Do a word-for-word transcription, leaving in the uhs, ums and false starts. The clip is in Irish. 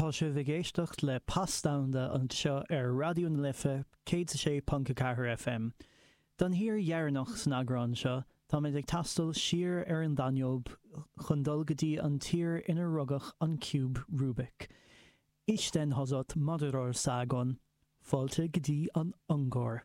Tá sibh ag éisteacht le Pas Domhanda anseo ar Raidió na Life céad sé ponc a ceathair FM. Don thír dheireanach san eagrán seo, táimid ag taisteal siar ar an Danóib chun dul go dtí an tír inar rugadh an Ciúb Rubik. Isten hozott Magyarországon, fáilte go dtí an Ungáir.